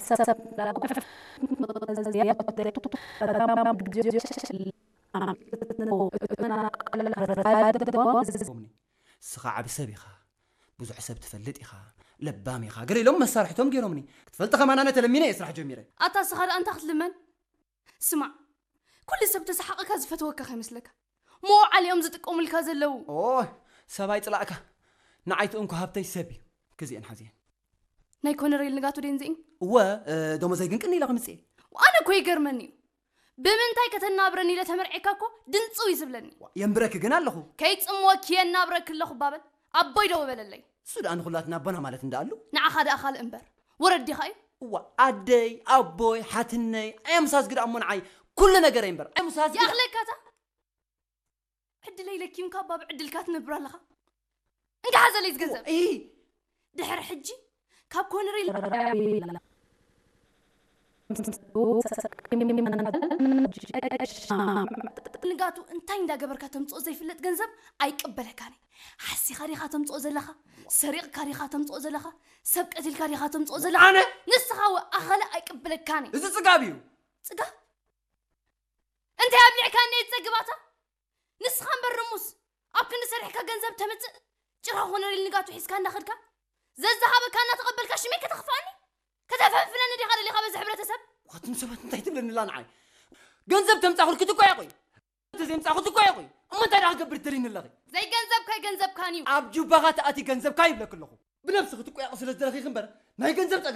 ሰብ ንስኻ ዓቢ ሰብ ኢኻ፣ ብዙሕ ሰብ ትፈልጥ ኢኻ፣ ለባም ኢኻ ገለ ኢሎም መሳርሕቶም ገይሮምኒ። ክትፈልጥ ከማን ኣነ ተለሚነ እየ ስራሕ ጀሚረ። ኣታ ንስኻ ደኣ እንታይ ክትልመን? ስማዕ፣ ኩሉ ሰብ ተሰሓቕካ ዝፈትወካ ከይመስለካ። መውዓሊ እዮም ዝጥቀሙልካ ዘለዉ። ኦይ፣ ሰብ ኣይጽላእካ። ንዓይ እቲ እንኮ ሃብተይ ሰብ እዩ። ክዚኤን ሓዚኤን። ናይ ኮነሬል ንጋቱ ደንዚእን እወ፣ ደሞዘይ ግን ቅኒ ኢለ ክምጽእ እየ። ኣነ እኮ ይገርመኒ እዩ። ብምንታይ ከተናብረኒ ኢለ ተመርዒካ እኮ ድንፅው እዩ ዝብለኒ። የንብረኪ ግን ኣለኹ። ከይፅምወኪ የናብረኪ ኣለኹ ባበል ኣቦይ ደው በለለይ። እሱ ደኣ ንኹላትና ኣቦና ማለት እንዳኣሉ። ንዓኻ ደኣ ካልእ እምበር ወረድ ዲኻ እዩ። እዋ ኣደይ ኣቦይ ሓትነይ ኣየምሳስ ግዳ እሞ ንዓይ ኩሉ ነገረይ እምበር ኣየምሳስ ግዳ። ይኣኽለካታ ዕድለይ ለኪምካ እባ ብዕድልካ ትነብር ኣለኻ። እንካ ሓዘለይ ዝገንዘብ እይ ድሕሪ ሕጂ ካብ ኮነሬል ንጋቱ እንታይ እንዳገበርካ ተምፅኦ ዘይፍለጥ ገንዘብ ኣይቅበለካን። ሓሲኻ ዲኻ ተምፅኦ ዘለኻ? ሰሪቕካ ዲኻ ተምፅኦ ዘለኻ? ሰብ ቀቲልካ ዲኻ ተምፅኦ ዘለኻ? ኣነ ንስኻ ወ ኣኸለ ኣይቅበለካን። እዚ ፅጋብ እዩ። ፅጋብ እንታይ ኣብሊዕካኒ እየ ዝፀግባታ? ንስኻ እምበር ርሙስ ኣብ ክንዲ ሰሪሕካ ገንዘብ ተምፅእ ጭራ ኮነሬል ንጋቱ ሒዝካ እንዳኸድካ ዘዝሃበካ እናተቐበልካ ሽመይ ከተኽፍኣኒ ከተፈንፍነኒ ዲኻ ደሊኻ በዚ ሕብረተሰብ? ዋትም ሰባት እንታይ ትብለኒ ኣላ ንዓይ? ገንዘብ ተምፃኹልኪ ትኮያ ቆይ ተዘይምፃኹ ትኮያ ቆይ እሞ እንታይ ደኣ ክገብር ትደሊኒ ኣለኺ? ዘይገንዘብ ከይገንዘብካን እዩ። ኣብ ጁባኻ ተኣትዪ ገንዘብካ ይብለኪ ኣለኹ። ብነብስኺ ትቆያቑ ስለ ዝደለኺ እምበር ናይ ገንዘብ